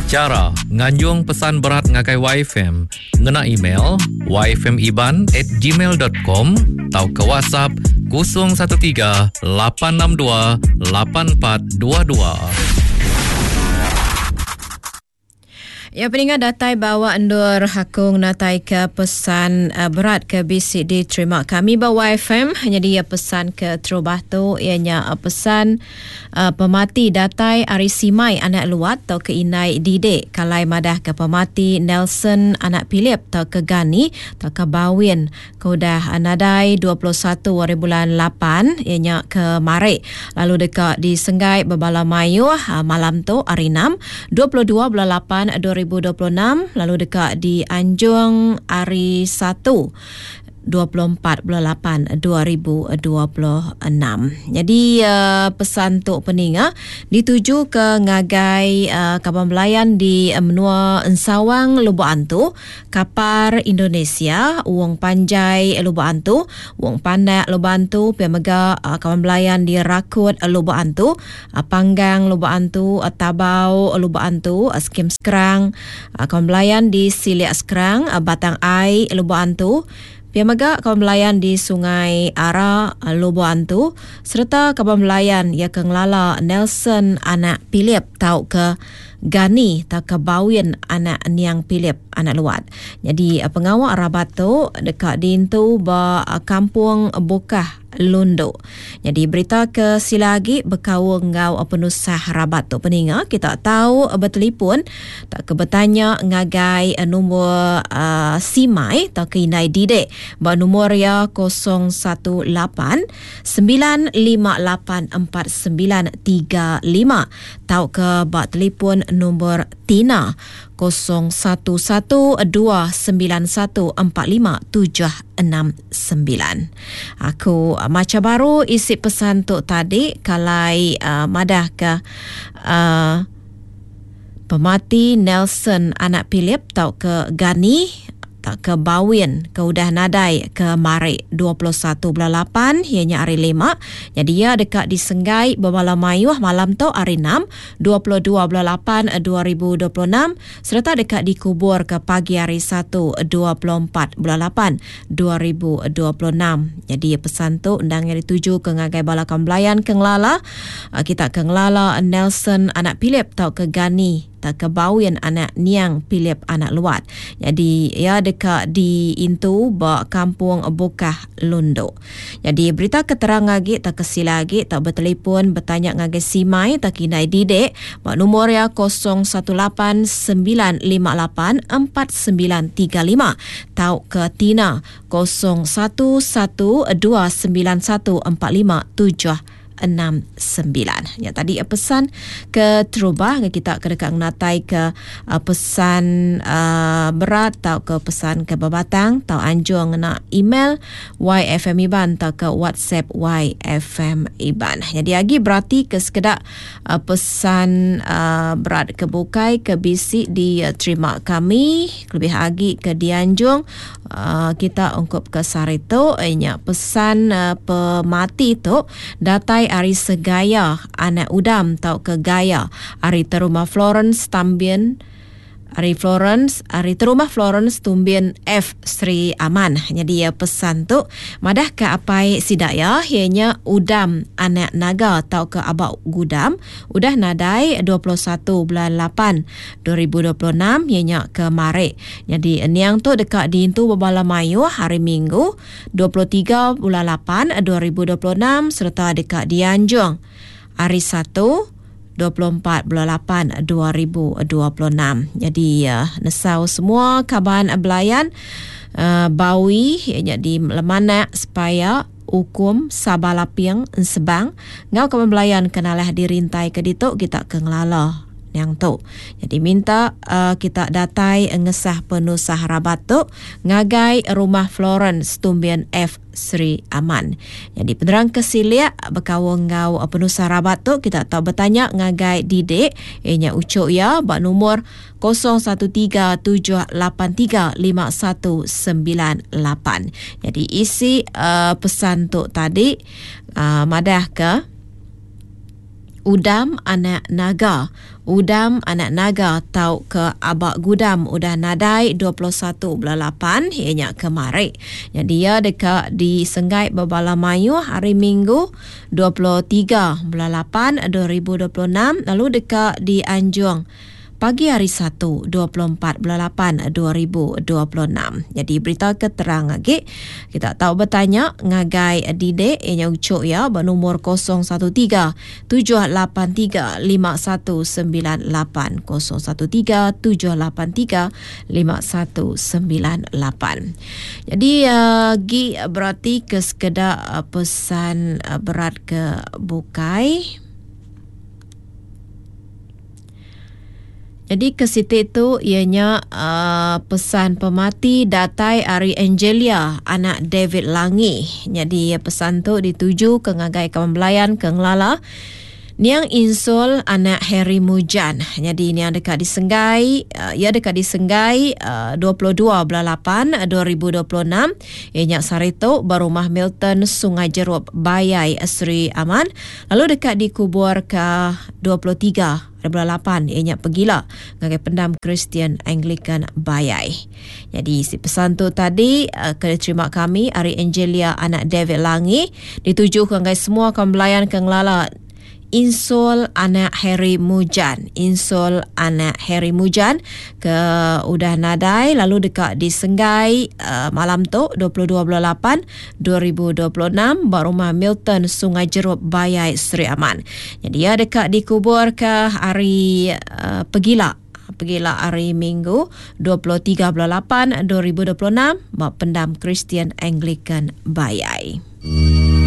Chara nganjung pesan berat ngagai YFM ngena email yfmiban@gmail.com tauka WhatsApp 013 862 8422. Ya peninga datai bawa endur aku ngenatai ke pesan uh, berat ke bisi diterima kami ba YFM. Jadi ya pesan ke terubah tu iya nya uh, pesan uh, pemati datai ari Simai anak Luat tau ke indai Didek kalai madah ke pemati Nelson anak Philip tau ke Gani tau ke Bawin ke udah nadai 21 hari bulan 8 iya nya kemari lalu deka disenggai bebala mayuh malam tu hari 6 22 bulan 8 2026 lalu deka dianjung hari 1 24 bulan 8 2026. Jadi uh, pesan tu peninga dituju ke ngagai uh, kaban belayan di menua Ensawang Lubok Antu Kapar Indonesia, Wong Panjai Lubok Antu, Wong Pandak Lubok Antu, pia mega kaban belayan di Rakut Lubok Antu, Panggang Lubok Antu, Tabau Lubok Antu, Skim Skrang, kaban belayan di Silik Skrang, Batang Ai Lubok Antu, pia mega kaban belayan di Sungai Ara Lubok Antu sereta kaban belayan iya ke ngelala Nelson anak Philip tauka Gani tauka Bawin anak Niang Philip anak Luat. Nyadi pengawa rabat tu deka diintu ba Kampung Bukah Lundu. Nyadi berita ke sila agi bekaul enggau penusah rabat tu peninga kita tau betelipun tauka betanya ngagai nombor uh, Simai tauka Indai Didek ba nombor iya 018 958 4935 tauka ba telipun nombor Tina 0112914576. Aku macha baru isi pesan tu tadi kalai uh, madahka uh, pemati Nelson anak Philip tauka Gani tauka Bawin ke udah nadai ke mari 21 bulan 8 iya nya hari lima. Nyadi iya deka disenggai bebala mayuh malam tu hari 6 22 bulan 8 2026 sereta deka dikubur ke pagi hari 1 24 bulan 8 2026. Nyadi pesan tu endang iya dituju ke ngagai bala kaum belayan ke ngelala kita ke ngelala Nelson anak Philip tauka Gani tauka Bawin anak Niang Philip anak Luat. Nyadi iya deka diintu ba Kampung Bukah Lundu. Nyadi berita ke terang agi tauka sila agi tau betelipun betanya ngagai Simai tauka Indai Didek ba numur iya 018958 4935 tauka Tina 01129145 69. Nya tadi pesan ke terubah ke kita ke deka ngenatai ke uh, pesan uh, berat tau ke pesan ke bebatang tau anjung ngena email YFM Iban tau ke WhatsApp YFM Iban. Jadi agi berati ke sekeda uh, pesan uh, berat ke bukai ke bisi diterima kami lebih agi ke dianjung uh, kita ungkup ke sehari tu nya pesan uh, pemati tu datai ari Segaya anak Udam tauka Gaya ari Teruma Florence Tambin ari Florence ari Terumah Florence Tumbin F Sri Aman. Nyadi ya pesan tu madah ke apai sida ya iya nya Udam anak Naga tauka Abak Gudam udah nadai 21 bulan 8 2026 iya nya kemari. Nyadi niang tu deka diintu bebala mayuh hari Minggu 23 bulan 8 2026 sereta deka dianjung hari Satu 24 bulan 8 2026. Nyadi uh, nesau semua kaban belayan uh, Bawi iya nya di Lemanak Sepaya Ukum Saba Laping Ensebang enggau kaban belayan ke nalah dirintai ke ditu kita ke ngelala niang tu. Jadi minta uh, kita datai ngesah penusah rabat tu ngagai Rumah Florence Tumbin F Sri Aman. Jadi penerang ke silik bekaul enggau penusah rabat tu kita tau betanya ngagai Didik iya nya uchu iya ba numur 0137835198. Jadi isi uh, pesan tu tadi uh, madah ke. Udam anak Naga. Udam anak Naga tauka Aba Gudam udah nadai 21 bulan lapan iya nya kemari. Nyadi iya deka disenggai bebala mayuh hari Minggu 23 bulan lapan 2026 lalu deka dianjung pagi hari Satu 24 bulan lapan 2026. Nyadi berita ke terang agi kita tau betanya ngagai Didek iya nya uchu iya ba numur 013 783 5198 013 783 5198. Jadi agi berati ke sekeda pesan berat ke bukai. Jadi ke siti tu iya nya uh, pesan pemati datai ari Angelia anak David Langi. Jadi pesan tu dituju ke ngagai kaban belayan ke ngelala Niang Insul anak Harry Mujan. Jadi niang deka disenggai uh, iya deka disenggai uh, 22 bulan 8 2026 iya nya sehari tu ba rumah Milton Sungai Jerup Bayai Sri Aman lalu deka dikubur ke 23 bulan lapan iya nya pegila ngagai Pendam Kristian Anglican Bayai. Nyadi isi pesan tu tadi eh, ke diterima kami ari Angelia anak David Langi dituju ke ngagai semua kaum belayan ke ngelala Insul anak Harry Mujan. Insul anak Harry Mujan ke udah nadai lalu deka disenggai uh, malam tu 22 bulan 8 2026 ba rumah Milton Sungai Jerup Bayai Sri Aman. Jadi iya deka dikuburka hari uh, pegila pegila hari Minggu 23 bulan 8 2026 ba Pendam Kristian Anglican Bayai.